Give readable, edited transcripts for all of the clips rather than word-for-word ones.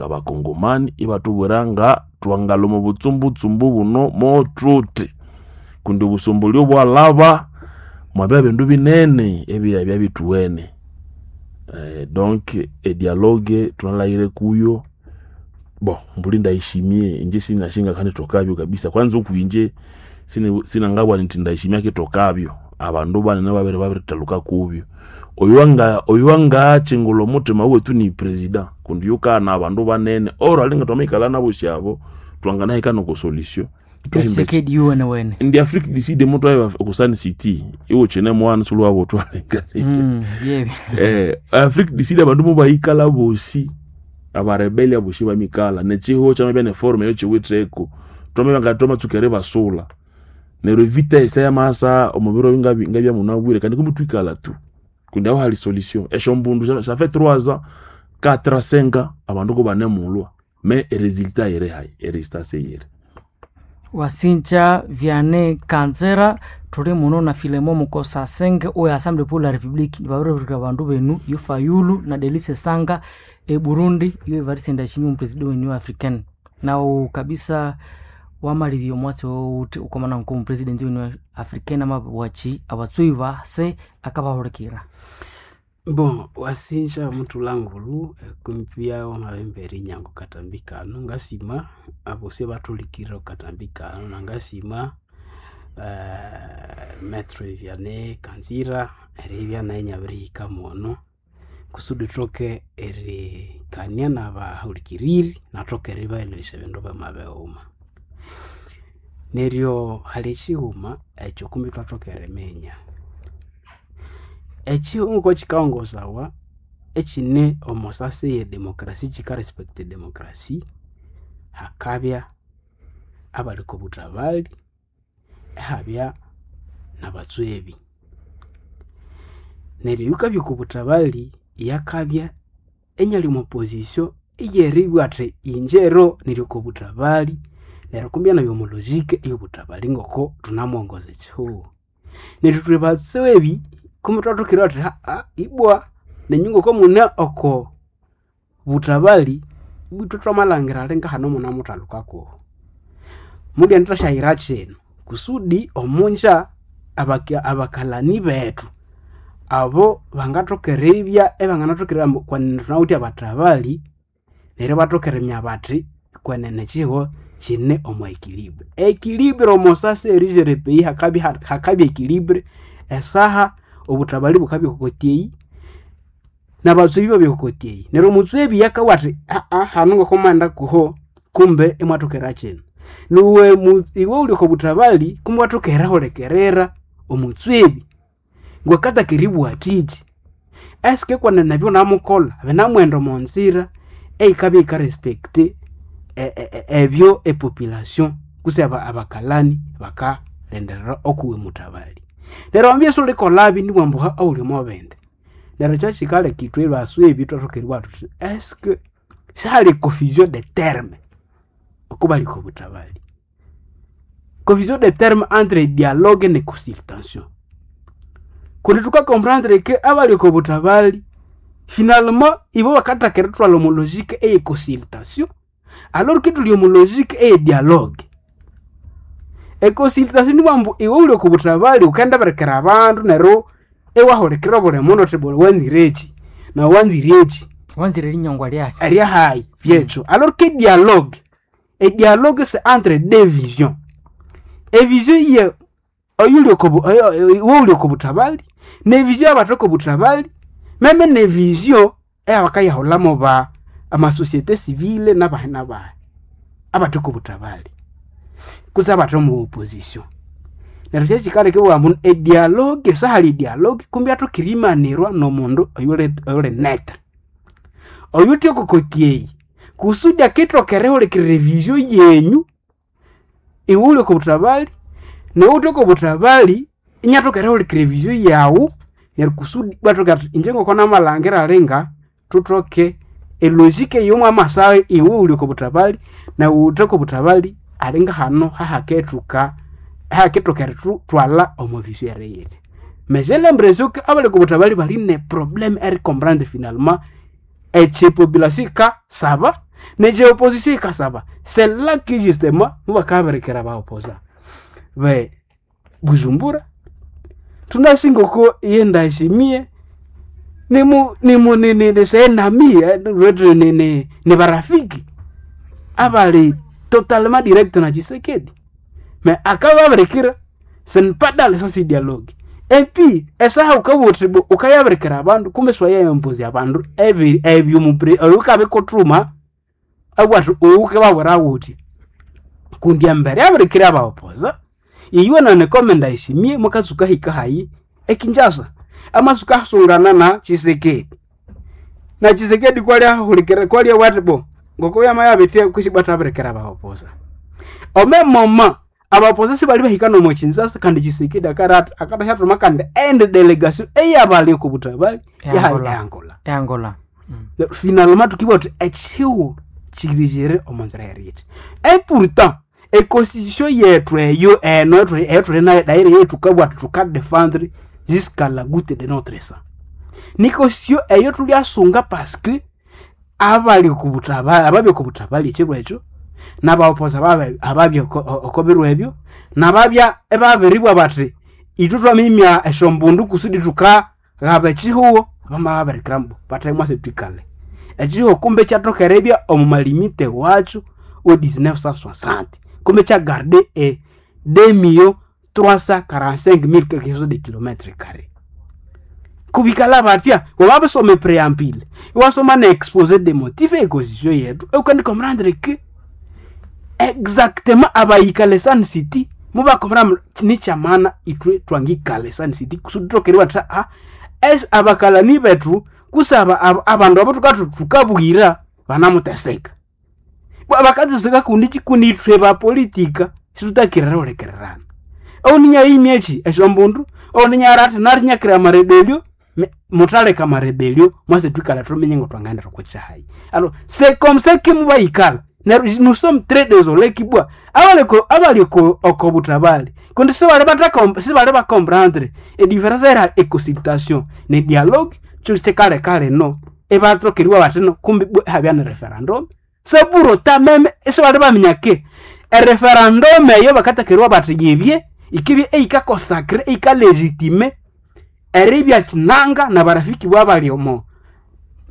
Ngabakongomani ibatubwira nga twangalwa omu butsumbutsumbu buno mothuthi, kundi obusomboli bwalhaba mwabya bindu binene ebyabya bithuwene. Donc edialogue thunalhaghire kuyo, bon mbuli ndayishimiye inje sinasi ngakandithokabyo kabisa, kwanza okwinje sinangabugha indi ndayishimiye akithokabyo, abandu banene babiribabiritelhuka kubyo. Oyuwangakyingulha omuthima wethu ni president kundi yukaghana abandu banene or alinga twamayikalha nabosi abo twanganahika noko solution. Tshisekedi yuwenewene. Indi Afrique du Sud mutwaye oku Sun City iwukyine mwana siwulhawabutwaleka. Byebyo. Afrique du Sud abandu mubayikalha bosi, abarebeli abosi bamikalha nekyihugho kyamabya neforum eyokiwitheko, twamabya nga twamatsuka eribasulha. Neryo evita yamasa omubiro ngabyamunabwire kandi kumbi thwikalha tu kundi aho hali solution. Esyombundu ça fait 3 ans, 4 ans, 5 ans abandu kubanemulhwa mais eresultat yiri hayi, eresultat siyiri. Wasinja Vianney Kanzera thuli muno na Philemon Mukosa Senge owe Assemblée pour la République babiribirira abandu benu yo Fayulu na Delice Sanga e Burundi iyo Evariste Ndayishimiye omupresident we Union Africaine. Nawu kabisa wamalibya omwatsi owuthi ukomana nkomupresident we Union Africaine amabwachi abatsui base akabahulikira. Bon, wasinja muthulangulu kumpya wamabembera inyango katambi kano ngasima abosi abathulikirira okatambi kano nangasima Maître Vianney Kanzira eribya naye inyabirihika mwono kusudi ithoke erikania nabahulikiriri nathoke eribaelesya ebindu byamabighuma. Neryo hali ekighuma ekyo kumbi ithwathoka eriminya. Ekihugho ngokukikaghongosawa ekine omwasasi eye demokrasi kika respecta edemokrasi, hakabya abali okobuthabali ihabya nabatswebi. Neryo oyukabya okobuthabali yakabya inyali omwa position eyeribugha athi inje ero niri okobuthabali neryo kumbi inabya omwa logic eyobuthabali ngoko thunamuwongoza ekihugho. Neryo ithwe batswebi kumbi ithwathoka eribugha thuthi ibwa nenyu ngoko mune oko buthabali ibwa ithwe thwamalhangira alinga hano munemuthalhuka kuhu. Mulyendithasyayira kino kusudi omunja abakalani bethu abo bangathoka eribya ibanganathoka eribugha kwenene thunawithe abathabali neryo ibathoka eriminya bathi kwenene ekihugho kine omwa equilibre. Equilibre omwasasi erijere epeyi hakabya hakabya equilibre esaha obuthabali bukabya okokoti nabatswebi ibabya okokoti eyi. Neryo omutswebi akabugha athi hanu ngokomughenda kuho kumbe imwathokera kino. Niwe iwe wuli okobuthabali kumbe iwathoka erihulikirira omutswebi ngwakataka eribugha athiki. Eske kwenene ebyonamukolha binamughenda omonzira eyikabya yika respecta ebyo epopulation kutse abakalani bakalindirira okuwe muthabali. Neryo wamabya isiwulikolhabi nibughambu awuli omwabindi. Neryo kyakikaleka ithwe baswebi ithwathoka eribugha thuthi eske sihali confusion de terme okubali okobuthabali. Confusion de terme entre dialogue ne consultation. Kundi thuka comprendre ke abali okobuthabali finalement ibo bakathaka erithwalha omo logic eye consultation alors que ithuli omo logic eye dialogue. Econsultation nibughambu iwe wuli okobuthabali wukendibirikira abandu neryo iwahulikirira obuli mundu wuthi wanzireki nawu wanzireki. Wanzire erinyongwa lyahi. Eryahayi byekyo. Alors que dialogue, edialogue c'est entre deux visions. Evision ye oyuli okobu iwe wuli okobuthabali nevision yabathe okobuthabali meme nevision eyabakayahulhamu ba amasociété civile nabahi nabahi abathe okobuthabali kutse abathe omo opposition. Neryo kyekikaleka ibugha ambu edialogue sihali edialogue kumbi yathoka erimanirwa nomundu oyuli oyuli netre. Oyuthe okokoti eyi kusudi akithoka erihulikirira evision yenyu iwe wuli okobuthabali niwe wuthe okobuthabali inyathoka erihulikirira evision yawu neryo kusudi iwathoka athi inje ngoko namalhangira alinga thuthoke elogic eyomwamasa iwe wuli okobuthabali nawu wuthe okobuthabali alinga hano hahakethuka hahakethoka erithwalha omo vision eriyiri. Mais j'ai l'impression que abali okobuthabali bali ne problème eri comprendre finalement ekyepopulation yikasaba. Nekye opposition ikasaba, c'est là que justement mubakabirikira baoposa be Bujumbura. Tunasingoko yendashimie nimu nimu ni senami wetu ni barafiki abali totalement direct na Tshisekedi, mais akababirikira ce n'est pas dans le sens dialogue. Et puis esaha ukabuthi ukayabirikira abandu kumbe swayayempozi abandu ebi ebyo mupre ukabikuthuma abwathu ukababwira wuthi kundi embere yabirikira abaopoza iwe nane komenda ishimie mukatsuka hika hayi ekinjasa amasuka asungana na Tshisekedi na Tshisekedi kwali ahulikira kwali wati bo ngoko yama yabitie kushibata abirikira abaopoza ome moma abaopoza sibali bahika nomo Kinshasa kandi Tshisekedi akarata akatashatuma kandi ende delegation eyabali okubutabali Ya Angola. ya Angola. Angola. Finalement tukibwa tuti ekihiwo kirijire omu nzira yerithi. Et pourtant econstitution yethu eyo eno eyetuli nayo daire yetu tukabwa tuti tukadefendre jusqu'à la goutte de notre sang, ni constitution eyo tulyasunga parce que abali okubutabali ababya okubutabali ekiro ekyo n'abaopoza ababya okobirwa ebyo nababya ebabiribwa bati ithwe twamimya esyombundu kusudi tukaghaba ekihuwo bamababirikira mbu bathemwase twikale ekihuwo kumbe kyathoka eribya omu malimite wakyo we 1960 kumbe kyagarde e 2 millions 345 mille quelque chose de kilomètre carré kubikala batya wababisoma epreambile iwasoma na exposé de motif econstitution yetu eukandi comprendre que exactement abayikale Sun City mubakomera nikyamana ithwe twangikale Sun City kusudi thokeriwa tha a es abakalani bethu kusaba abandu abo tukathu tukabwira banamuteseka. Bwa bakateseka kundi kikundi ithwe bapolitika situtakirira ulekererana ouninya eki esyombundu ouninya ati narinyakira amarebelio mutaleka amarebelio mwase twikala tumenye ngo twangaendera okukyahayi. Alors c'est comme ça que mubayikala neryo nous sommes très désolés kibwa abaliko abaliko okobutabali kundi sibali bataka sibali bakomprendre ediference era econsultation ne dialogue kyo kikale kale no ebatokeriwa bati no kumbi habya ne referendum c'est pour autant même sibali baminya ke ereferendum eyo bakatakeriwa bati yibye ikibye eikakosakre eikalégitime eribya kinanga na barafiki bwabali omo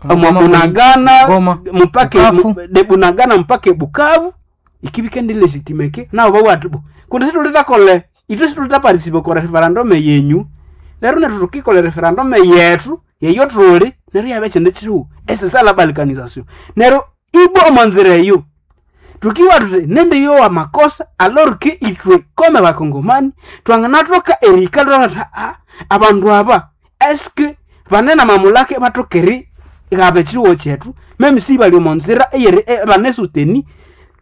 omo Bunagana Goma. mpaka Bukavu. de Bunagana mpaka Bukavu ikibike ndi legitime ke nabo bawati bo kundi situlitakole itwe situlita participe ko referendum yenyu lero nethu tukikola referendum yethu yeyo tuli neryo yabe kyindi kiriwo esesa la balkanisation neryo ibwa omo nzira eyo tukiwa tuti nende yowa makosa alors que itwe kome bakongomani twanganathoka erika lwatha a abandu aba eske banene mamulake bathokeri ghaba ekyiwo kyethu meme si bali omo nzira eyeri banesuteni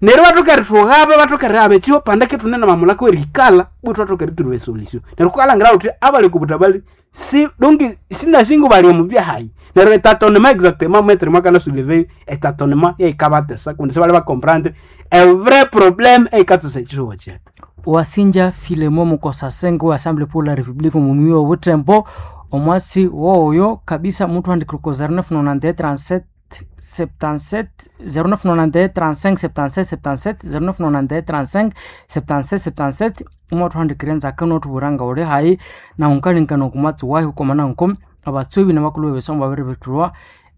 neryo bathoka erithughaba bathoka erighaba ekyiwo pandeke thune namamulaka werikala bwe twathoka erithurwa esolution. Neryo kukalangira wuthi abali okubutabali si donc sinasingo bali omu byahayi neryo etatonema exactement maître mwakana soulever etatonema yeikabatesa kundi sibali bacomprendre e vrai problème eikatsesa ekyiwo kyethu. Wasinja Filemo Mukosasenge wa Assemblée pour la République mumwi wa Butembo omwasi woyo kabisa muthu andikire ko 0991 37 77 0991 35 77 77 0991 35 77 77 umwathu andikire nzaka nothubwira nga uli hayi na unkalinkana okumwatsi wahi ukomana nko abatsobi nabakulhu bebisomo babiribithulwa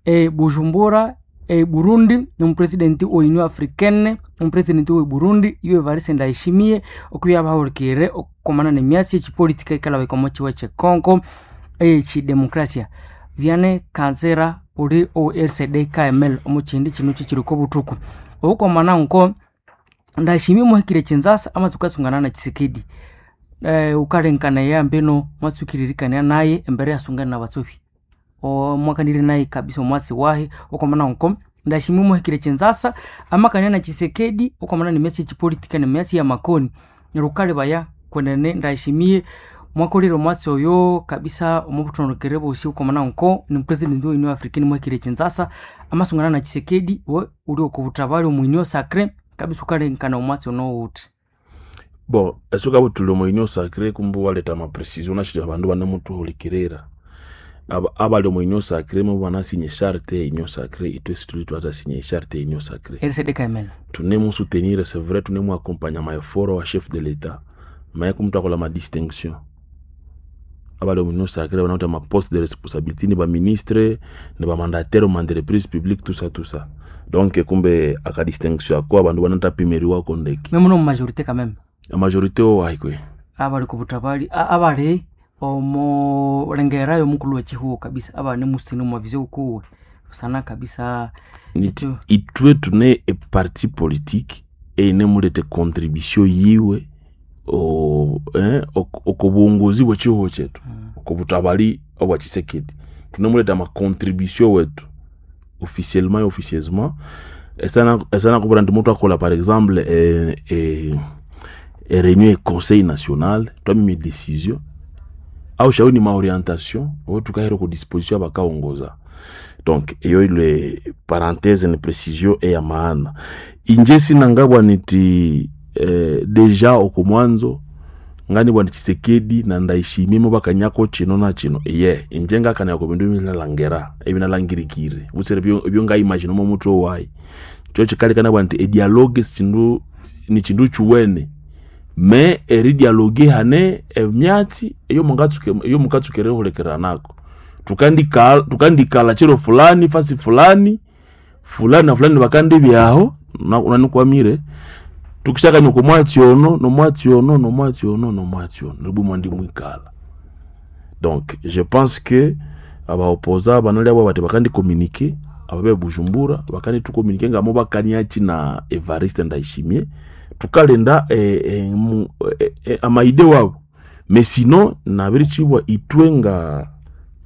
e Bujumbura e Burundi nomupresidenti wa Union Africaine omupresidenti we Burundi iyo Evariste Ndayishimiye okubya bahulikirire okukomana nemyasi ekipolitika ikalaba ikomo kiwa kye Congo ekidemokrasia. Vianney Kansera uli o RCD KML omu kindi kino kikiriko obuthuku obukomana nko Ndayishimiye muhikire Kinshasa amasuka asungana na Tshisekedi ukalenkana yambeno mwasukiririkania naye embere yasungana nabatsobi omwakanire naye kabisa omwasi wahe okomana nko Ndayishimiye muhikire Kinshasa amakania na Tshisekedi okomana nemyasi ekipolitika nemyasi ya makoni neryo ukalebaya kwenene Ndayishimiye mwakolire omwasi oyo kabisa omubuthondekere bosi okomana nko ni president wa Union Africaine muhikire Kinshasa amasungana na Tshisekedi we uli okubuthabali omu Union Sacrée kabisa ukalenkana omwasi ono wuthi. Bon esuka butuli omu union sacrée kumbe waleta amaprecision nashiri abandu banemutuhulikirira. Abali omu union sacrée mo banasinya charte ya union sacrée, itwe situli twatasinya charte ya union sacrée. RCD-KML. Tunemu soutenir, c'est vrai, tunemu accompagner ma effort wa chef de l'État, mais comme twakola ma distinction, abali omu union sacrée banawithe ma poste de responsabilité, ni baministre, ni bamandataire mu entreprise publique, tout ça, tout ça. Donc kumbe aka distinction ako abandu banatapimiriwako ndeke. Mais muno mu majorité quand même. A majorité owo ahikwe. Abali kubutabali abali omo lengera y'omukulu w'ekihugo kabisa, abane musitini omu mavision kuwe sana kabisa. Niti itwe tune eparti politique einemuleta contribution yiwe okobwongozi bw'ekihugo kyetu, okobutabali obwa Tshisekedi. Tunemuleta amacontribution wetu officiellement et officieusement. Esana kubura nti mutu akola par exemple réunion conseil national, twamime décision au shauri ni maorientation oyo tukahera ku disposition abakaongoza. Donc eyo ile parenthèse ni précision eya maana. Inje sinangabwa niti deja oko mwanzo ngani bwa Tshisekedi na Ndayishimiye mo bakanyako chino na chino, ye inje ngakana ko bindu binalangera ebinalangirikire busere byo nga imagine mo mutwe wayi cyo chikalikana bwa nti e dialogue chindu ni chindu chuwene, me eri dialogue hane emyatsi eyo mungatsuke eyo mukatsukere hulekera nako, tukandikala chiro fulani fasi fulani fulani na fulani bakandi byaho unanikwamire tukishakanya ku mwatsi ono no mwatsi ono no mwatsi ono no mwatsi ono nibu mwandi mwikala. Donc je pense que abaopoza banali abo bati bakandi communiquer ababe Bujumbura bakandi tucommuniquer ngamo bakaniachi na Evariste Ndayishimiye tukalenda amaide wabo. Mais sinon nabirichibwa itwe nga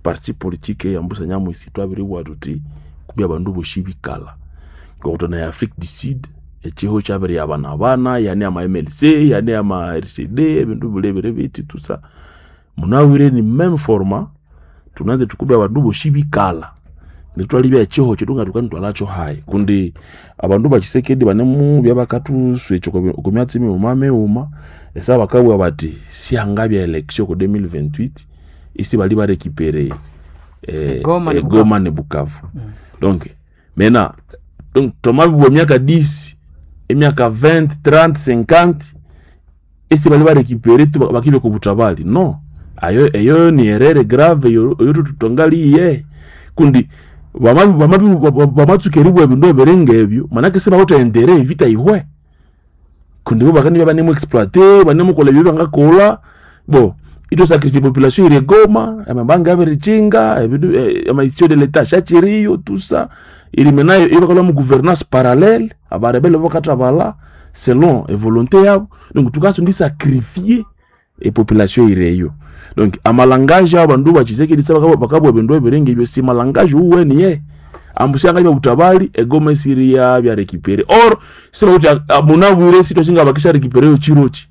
parti politique ya Mbusa Nyamwisi twabiribwa tuti kubya bandu boshibikala ngokutona ya Afrique du Sud echiho kyabiri abana abana yani ama MLC yani ama RCD ebindu bulebere biti tusa munawire ni même format tunaze tukubya abandu boshibikala nitwalibya echiho chitunga tukani twalacho hayi kundi abandu bachisekedi banemu byabakatuswe ekyo kumyatsi miuma miuma esa bakabwa bati sianga bya election ku 2028 isi bali barekipere Goma ni Goma ni Bukavu. Donc maintenant donc tomabibwa emyaka 10, emyaka 20, 30, 50 isi bali barekipere tu bakibe ku butabali no ayo eyo ni erreur grave eyo eyo tutongaliye kundi bamatsukeribwa ebindu ebiringa ebyo manake sibawutha endere evita ihwe kundi bo bakandi banemu exploiter banemukola ebyo bangakola bo ito sacrifice population iri Goma amabanga abirichinga ebindu ama institution de l'état shachiriyo tout ça iri menayo ibakola mu gouvernance parallèle abarebele bakatabala selon e volonté yabo. Donc tukasundi sacrifier e population ireyo. Donc amalangage abandu bachisekedi saba bakabwa ebindu ebiringa ebyo si malangage uweni ye ambushanga bya butabali egoma esiria bya récupérer or sira kuti munabwire sito singa bakisha récupérer yo chirochi.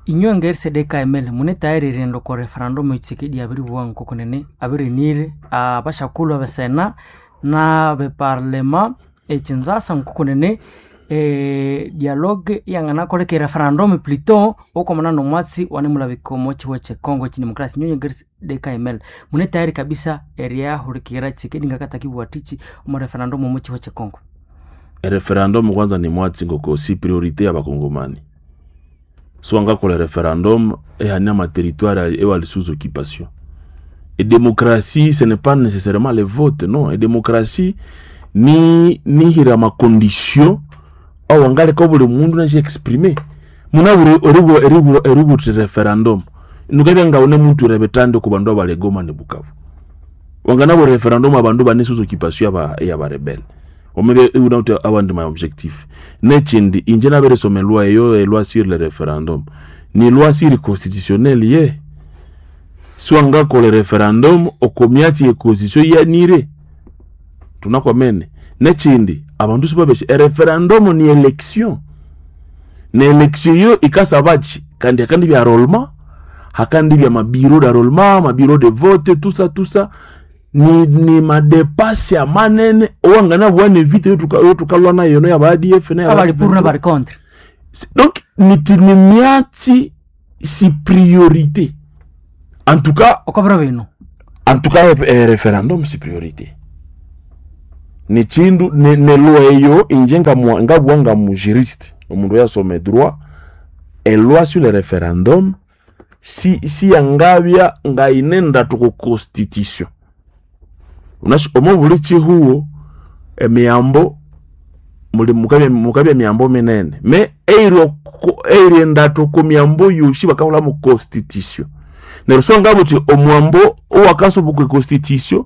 Inywe nga RCD-KML mune tayari riendo kwa referendum Tshisekedi abiribwa nkokonene abirinire abashakulu abesena na beparlema ekinzasa nkokonene dialogue yanganakoleka referendum plutôt okomana nomwatsi wanemulabika omo chiwa che Congo chidemokrasi. Inywe nga RCD-KML mune tayari kabisa eriyahulikira Tshisekedi ngakatakibwa tichi omo referendum omo chiwa che Congo. Referendum kwanza ni mwatsi ngoko si priorité ya bakongomani so angakola referendum ehania ma territoire ewali sous occupation. Et démocratie ce n'est pas nécessairement le vote, non. Et démocratie ni nihira ma condition awangaleka buli mundu nashi exprimer munaburi eribu eribu eribu referendum nukabya nga une muntu rebetande ku bandu abalegoma ne Bukavu wanganabo referendum abandu bane sous occupation ya ya ba rebelle omebe unauti awandi my objectif nechindi inje naberesoma loi eyo loi sur le référendum ni loi sur constitutionnelle ye siwangakola referendum okomyatsi ye constitution yanire tunakwamene nechindi abandu sibabeshe ereferendum ni election ne election yo ikasabachi kandi akandi bya rolema hakandi bya mabiro d'enrôlement, mabiro de vote, tout ça, tout ça ni madepasi ya manene owangana bwane vita yo tukalwa nayo no ya ba ADF na ya abali pour na bali contre. Donc niti ni miati si priorité en tout cas okobra bino. En tout cas, référendum si priorité ni chindu ne loi eyo inje ngabwa nga mu juriste, omundu yasoma droit, e loi sur le référendum si yangabya ngayinenda tuku constitution. Unashi omo buli chihuo emiyambo muli mukabya emiyambo minene me eiri endatu ku miyambo yosi bakahula mu constitution. Neryo so ngabuthi omwambo owakasoboka constitution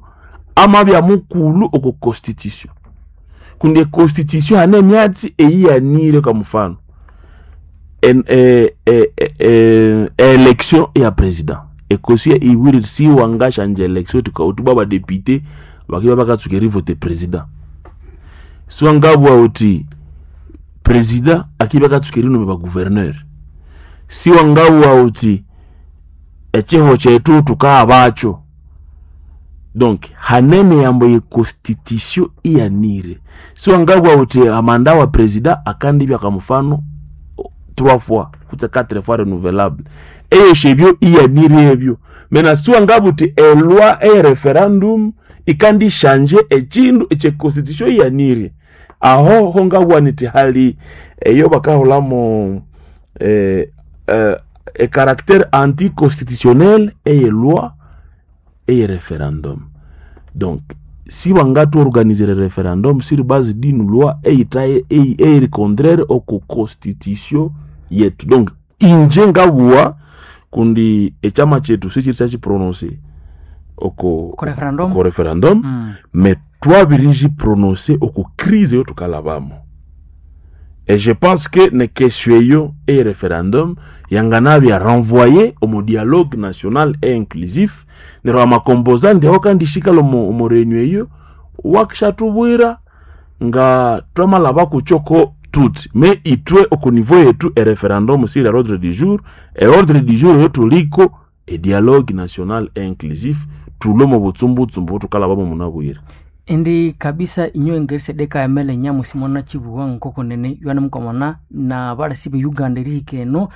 amabya mukulu oko constitution, kundi constitution hane emyatsi eyiyanire. Kwa mfano, election ya president ekosi ibwire siwangashanja election tuka badepute bakiba bakatsuka erivote president, siwangabwa uti president akiba akatsuka erinome ba gouverneur, siwangabwa uti echiho chetu tukabacho. Donc hanene yambo ye constitution iyanire, siwangabwa uti amanda wa president akandibya kwa mfano 3 fois kutse 4 fois renouvelable, eyo shebyo iyanire ebyo. Mena siwangabwa uti eloi e referendum ikandi shanje echindu eche constitution iyanire. Aho ho ngabwa niti hali eyo bakahulamo e caractère anticonstitutionnel eye loi eye référendum. Donc si bangatu organiser le référendum sur base d'une loi eyitaye eyiri contraire oko constitution yetu. Donc inje ngabwa kundi echama chetu sichiri chachiprononce oko Ko referendum. Oko referendum. Mais twabiriji prononcer oko crise eyo tukalabamo, et je pense que ne question eyo e référendum yanganabya renvoyé omu dialogue national et inclusif. Neryo amakomposante aho kandi shikala omu réunion eyo wakishatubwira nga twamalaba kuchoko tuti me itwe oko niveau yetu e référendum sur l'ordre du jour, e ordre du jour eyo tuliko e dialogue national et inclusif tulo mu butsumbutshumbu tukalabamo munabwire. Indi kabisa inyo ngerisedeka emele nyamusimona chibuwa nkoko nene ywana mukamana na balasi be Uganda erihika eno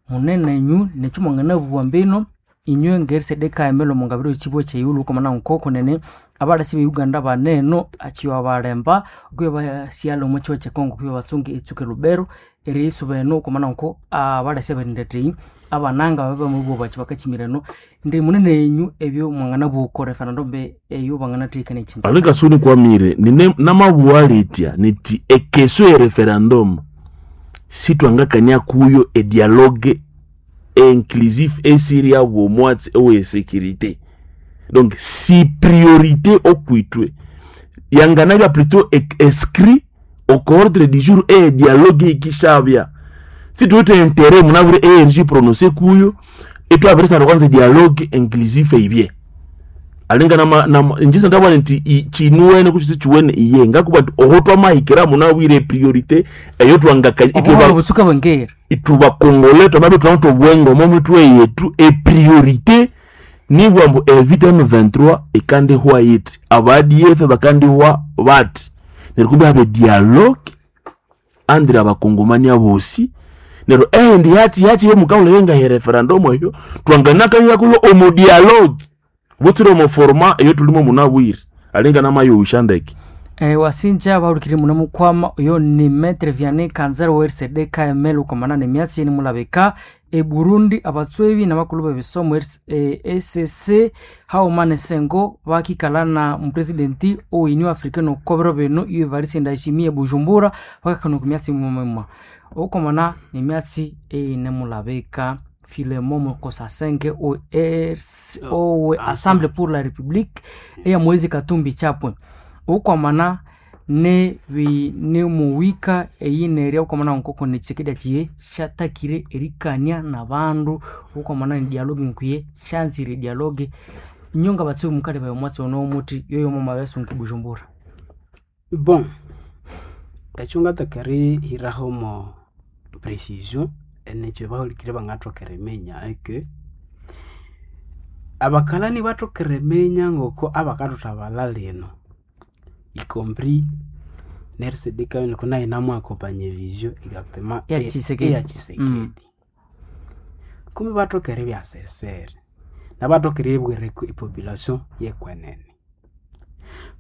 munene nyu nechumangana buwa mbino inyo ngerisedeka emele omungabiro chibuwa cheyulu ukamana nkoko nene abalasi be Uganda baneno achiwa balemba okuya basiala omu chiwa che Congo kuya batsungi etsuke Lubero erisuba eno ukamana nko abalasi aberindetei abananga babe bamubuwa bachi bakachimireno. Ndi munene enyu ebyo mwangana buko referendum be eyo bangana tekana echinza. Alinga suni kwamire nine namabuwa litya niti ekeso ya referendum sitwangakania kuyo e dialogue inclusif esiri ya bwomwatsi ewe sécurité. Donc si priorité okwitwe yanganabya plutôt inscrit au ordre du jour e dialogue ikishabya, si tuwete intérêt munabure ENG prononcé kuyo etwabirisana kwanza dialogue inclusif eibye. Alinga nama njisa ndabona nti chinuwene kuchisi chiwene iye ngakuba nti oho twamahikira munabwire priorité eyo twangakanya Obuhoro busuka bwengera ituba kongole twamabe twanto bwengo mo mitwe yetu e priorité nibwa mbu evita M23 ekandi hwa yiti aba ADF bakandi hwa bati neryo habe dialogue andira abakongomani abosi. Neryo endi yati yati yo mukawula yenga he referendum eyo twanganakanya kuyo omu dialogue butsire omu forma eyo tulimo munabwire alinga namayusha ndeke. Wasinja bahurikire muno mukwama oyo ni Maître Vianney Kanzera wa RCD KML ukomana ne myatsi ni mulabika e Burundi abatswebi n'abakulu b'ebisomo ECC haumane sengo bakikala na mupresidenti oini africain okobero bino iyo Evariste Ndayishimiye Bujumbura bakakana ku myatsi mumema okomana ne myatsi eine mulabika Philemon Mukosasenge o RC owe Assemblée pour la République eya Moise Katumbi Chapwe ukwamana ne bi ne muwika eyinerya ukwamana nkoko ne Tshisekedi achiye shatakire erikania na bandu ukwamana ni dialogue nkwiye shanzire dialogue inyonga batsi mukale bayo mwatsi ono muti yoyo mama besunki Bujumbura. Bon, ekyo ngataka erihiraho mo precision enekyo bahulikire bangathoka eriminya eke abakalani bathoka eriminya ngoko abakathuthabalha lino, y compris n'RCD kuna inamu accompagner vision exactement Ya Tshisekedi. Ya Tshisekedi. Kumi bathoka eribya sesere. Nabatokere ibwira epopulation yekwenene.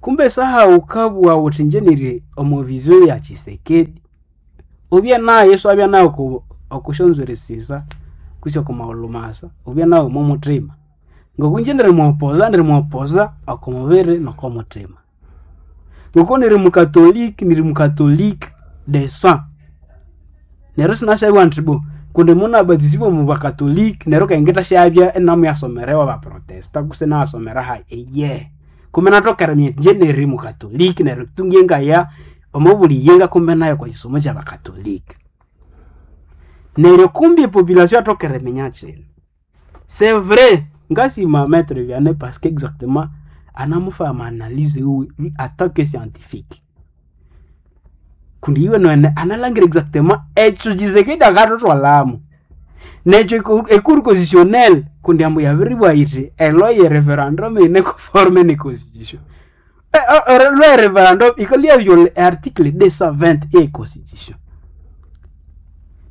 Kumbe saha ukabugha wuthi inje niri omo vision ya Tshisekedi, ubye nayo iswabya nayo okusyonzwiri sisa kwisi oko maghulhu masa, ubye nayo omo muthima. Ngoku inje nirimuopoza, nirimuopoza oko mubiri noko muthima. Ngoko niri mukatoliki, niri mukatoliki de sang. Neryo isinasyabugha indi bo kundi munabatisibwa omu bakatoliki neryo kandi ngithasyabya inamuyasomerewa abaprotesta kutse inayasomera hayi, eyehe. Kumbe inathoka eriminya indi inje niri mukatoliki neryo tu ngiye ngaya omo buli yenga kumbe nayo okwa kisomo kyabakatoliki. Neryo kumbi epopulation yathoka eriminya kino. C'est vrai, ngasima Maitre Vianney parce que exactement anamufa ama analyse wiwe lui en tant que scientifique. Kundi iwe nwene analangira exactement ekyo Tshisekedi akathuthwalhamu. Nekyo ecour constitutionnelle kundi ambu yabiribugha yithi eloi ye referendum yine conforme ne constitution. Eloi ye referendum yikalhwa iyaviola article 220 eye constitution.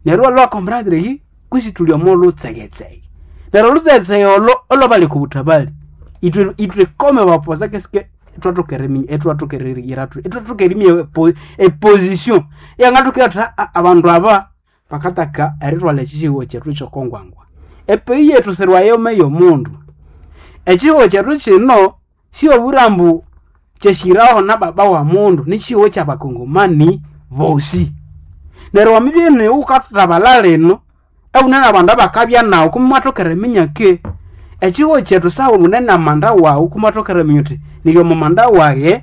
Neryo iwalhwa comprendre ki kwisi thuli omo lutsegetsege. Neryo olutsegetsege olo olwabali oko buthabali, ithwe ithwe kome bapoza keske ithwathoka eriminya ithwathoka eriyira thuthi ithwathoka eriminya eposition iyangathoka athi abandu aba bakataka erithwalha ekyihugho kyethu kyokongwangwa. Epeyi yethu sirwayoma eyomundu. Ekyihugho kyethu kino siwabugha ambu kyahiraho na baba wa mundu, nikyihugho kyabakongomani bosi. Neryo wamibya iniwe wukathabala lino, ewune nabandu abakabya nawu kumbe imwathoka eriminya ki ekyihugho kyethu saha wune namanda wawu kumbe iwathoka eriminya wuthi niri omo manda wayi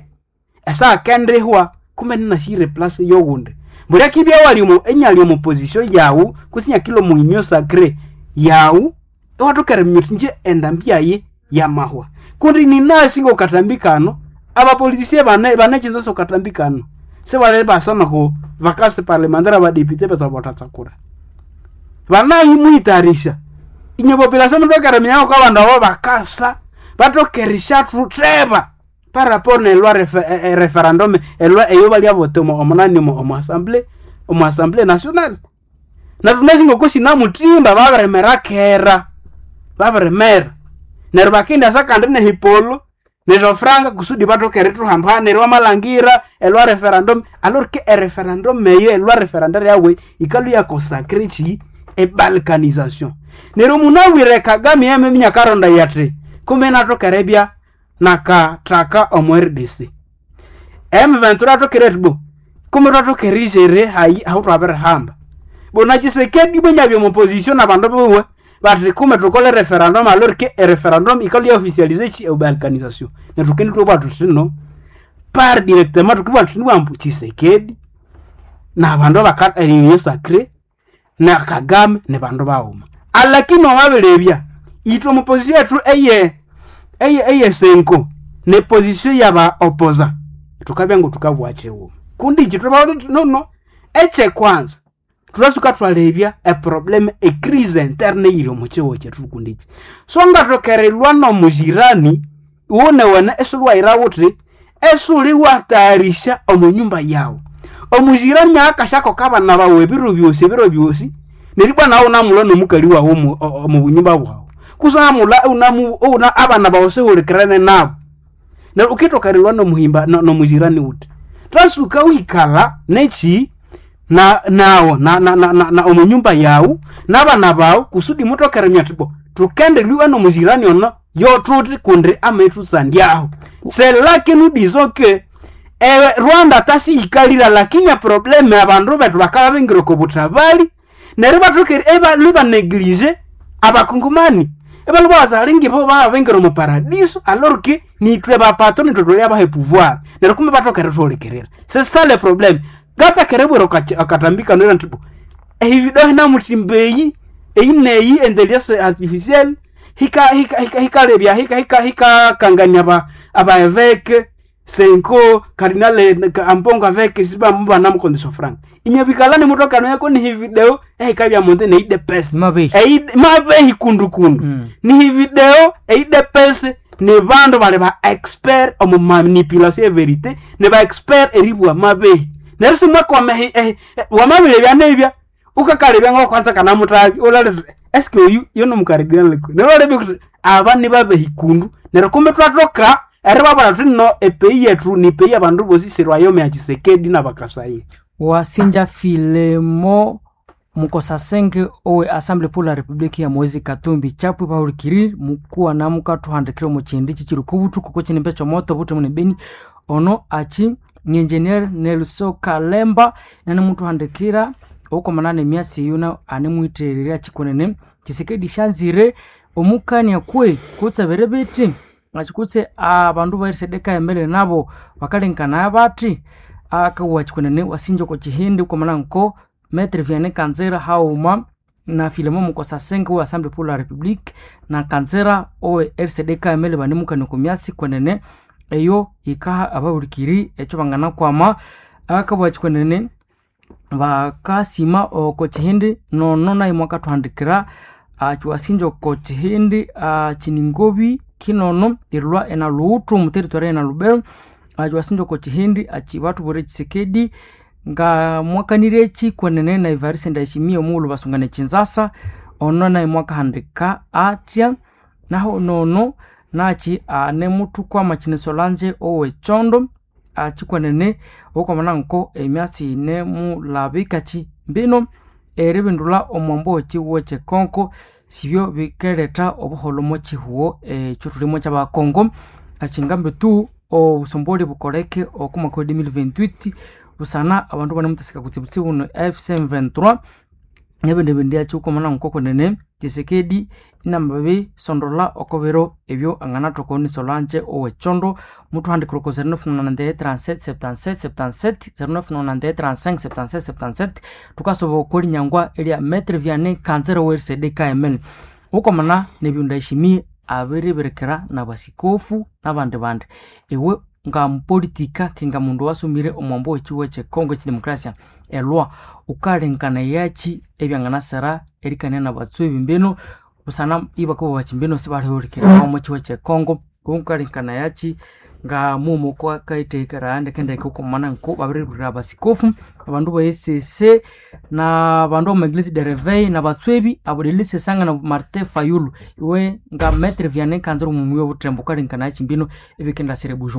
esaha akendihwa kumbe ininasyira eplace yowundi. Mbuli akibya iwali omo inyali omo position yawu kutse inyakilha omo union sacrée yawu, iwathoka eriminya wuthi inje endambi yayi yamahwa. Kundi ninasi ngokukatambi kano, abapoliticien bane banekyinza okatambi kano. Sibali basa noku vacance parlementaire abadepute bethu abathatsakura. Banayimuyithayarisya. Inywe population muthoke eriminya ngoko abandu abo bakasa, bathoke erisyathuteba par rapport neloi referendum eloi eyo balyavota omo nani omo assembly, omo assembly nationale. Nethu thunasi ngoko sinamuthimba babirimera kera, babirimera. Neryo bakendasa kandi nehipolo nesyofranga kusudi bathoke erithuhamba neryo wamalhangira eloi referendum alors que ereferendum eyo eloi referendaire yawe yikalhwa iyaconsacre kyi ebalkanisation. Neryo munabwire Kagame yamaminya akarondaya athi kumbe inathoka eribya nakathaka omo RDC. M23 athokere athi bo kumbe thwathoka eriyisere hayi ahuthwabirihamba. Bo na Tshisekedi ibwa inyabya omo position nabandu biwe bathi kumbe thukole referendum alors que ereferendum yikalhwa iyaofficialize kyi ebalkanisation. Neryo thukendithwabugha thuthi no par directement thukibugha thuthi ambu Tshisekedi nabandu abaka union sacrée na Kagame nibandu baghuma. Alakini wamabirebya ithwe omo position yethu eye eye CENCO ne position yaba opposa thukabya ngothukabugha kyighuma. Kundi ikyi thwababwira thuthi nono ekyekwanza thwasuka thwalebya eproblem ecrise interne eyiri omo kyihugho kyethu kundi ikyi. So ngathoka erilwa nomujirani iwunewene isiwayira wuthi isiwuliwatayarisya omo nyumba yawu. Omujirani akasyakoka abana bawu ebiro byosi ebiro byosi neryo ibwa nawu wunamulwa nomukali wawu omo bunyumba bwawu. Kutse wunamulwa iwuna abana bawu sihulikirene nabu. Neryo wukithoka erilwa nomuhimba nomujirani wuthi. Thwasuka wikalha nekyi na nawu na na omo nyumba yawu nabana bawu kusudi muthoke eriminya muthi bo thukendelwa nomujirani ono yothuthi kundi amaghithusandyaho. C'est là que nous disons que Rwanda tasiyikalira lakini eprobleme abandu bethu bakabya bingira oko buthabali neryo ibathoka ibalhwa ibaneglige abakongomani. Ibalhwa ibawasa ngibo bababingira omo paradiso alors que nithwe bapatron ithwe thuli abaha epouvoir. Neryo kumbe bathoka erithuhulikirira. C'est ça le problème. Ngataka eribwira akatambi kano indi bo ehivideho hinamuthimba eyi eyi neyi intelligence artificielle hikalebya hikakangania aba évêque CENCO cardinal Ambongo avec sibamubanamukonza esyofranga. Inywe bikalani muthoka eriminyako nihi video ehikabya omundu ne UDPS. Mabehi. Mabehi kundukundu. Nihi video e UDPS ni bandu bali ba expert omu manipulation e vérité, ni ba expert eribugha mabehi. Neryo simwakwama wamabirebya nibya Ukakalebya ngo kwanza kanamutabi ulale eske oyu yono mukaridinali neryo kuti aba nibabehikundu neryo kumbe twatoka eribabwira thuthi no epeyi yethu ni peyi abandu bosi sirwayome ya Tshisekedi n'abakasayi. Wasinja Filemo Mukosasenge owe Assemblée pour la République ya Moise Katumbi chapwe pahulikiri mukuwa namuka 200 mu chindi chichiri kubutu kuko chinimbe chomoto buti mune beni ono achi ni engineer Nelson Kalemba nane mutuhandikira okomanana emyasi yuna anemwithererya chikunene Tshisekedi shanzire omukania kwe kutsebere biti achikutse abandu ba RCD emele nabo bakalenkana bati akawa chikunene wasinja oko chihindi ukomana nko Maître Vianney Kanzera hauma na Philemon Mukosasenge wa Assemblée pour la République na Kanzera owe RCD KML banemukania oko myasi kwenene eyo ikaha abahulikiri ekyo banganakwama akabwa chikwenene bakasima oko chihindi nono naye mwakathuhandikira achiwasinja oko chihindi chiningobi kinono erilwa ena luwuthu omu territory ena lubero achiwasinja oko chihindi achi bathubwire Tshisekedi nga mwakanire eki kwenene na Evariste Ndayishimiye omughulhu basungana ekinzasa ono naye mwakahandika atya naho nono nachi anemuthukwama kine Solange ow'ekyondo achikwenene okwamana nko emyatsi yinemulabika ki mbino eribindulha omwambo w'ekihugo ky'ekongo sibyo bikeletha obuholho omo kihugo ekyo thulimu ky'abakongo achingambi tu obusomboli bukoleke oko mwaka wa 2028 busana abandu banemuthasika kutsibutsibu no AFC/M23 nebindi bindi akyikumana nkokunene Tshisekedi inamabisondola oko biro ebyo anganathoka ni Solange ow'ekyondo muthuhandikira oko 0991 37 77 77 0991 35 77 77 thukasoba oko linyangwa erya Maitre Vianney Kanzera owe RCD KML ukomana nebyo Ndayishimiye abiribirikira nabasikofu nabandi bandi iwe nga mupolitika kinga mundu wasomire omwambo w'ekihugo ky'ekongo eky'edemokrasia elwa ukalengana yachi ebyanganasira erikania nabatswebi mbino busana ibakabugha bachi mbino sibalihulukira omo kihugo ky'ekongo ukalengana yachi nga mumu kwakaithekera ndekendeke ukomana nko babiribirira abasikofu abandu ba ECC na bandu b'omu Eglise de Reveil na batswebi abo Delice Sanga na Martin Fayulu iwe nga Maitre Vianney Kanzira omumuyi w'obuthembo ukalengana yachi mbino ebikendasira ebujumbura.